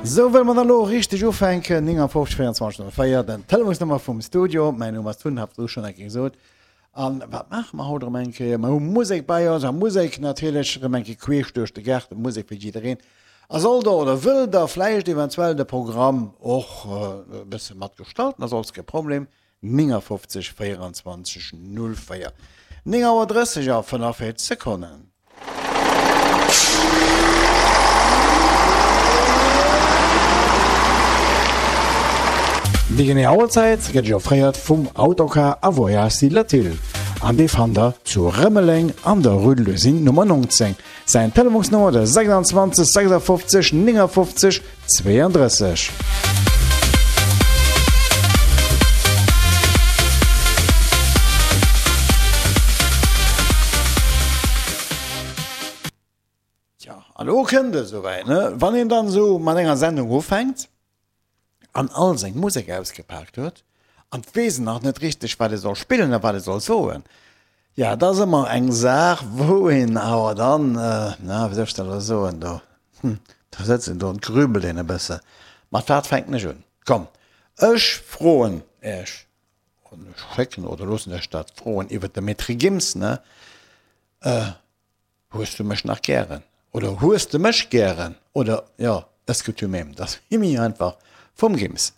Sou wëlle mer dann elo richteg ufänken. 59 24 04, den Telefonsnummer vum Studio. Mäin Numm ass Tun, hat elo schonn eng Kéier gesot. An wat maache mer haut erëm eng Kéier? Mer hu Musek bei eis a Musek natierlech erëm eng Kéier queesch duerch de Gaart, Musek fir jiddereen. A sollt der oder wëllt der vläicht eventuell de Programm och e bësse mat gestalten, ass alles kee Problem, 59 24 04. 9 Auer 30 a 45 Sekonnen. Déi genee Auerzäit gëtt Iech offréiert vum Autocar a Voyages Latil an dee fannt der zu Rëmeleng an der Rue de l'Usine Nummer 19. Säin Telefonsnummer de 26 56 59 32. Tja, an elo kënnt et esouwäit, ne? Wann een dann esou mat enger Sendung ufänkt an all seng Musek ausgepaakt huet an 't weess en nach net richteg, wat e soll spillen a wat e soll soen, Ja, et ass ëmmer eng Saach, wou een awer dann, na, wéi soll ech dat elo soen, do, hm, do sëtzt een do an grübelt een e bësse, mat wat fänken ech un? Komm, ech froen Iech, an ech schécken oder loossen Iech dat froen iwwert de Maître Gims, ne, Hues du mech nach gären? Oder hues de mech gären? Oder, jo, Est-ce que tu m'aimes? Dat ass méi einfach vum Gims.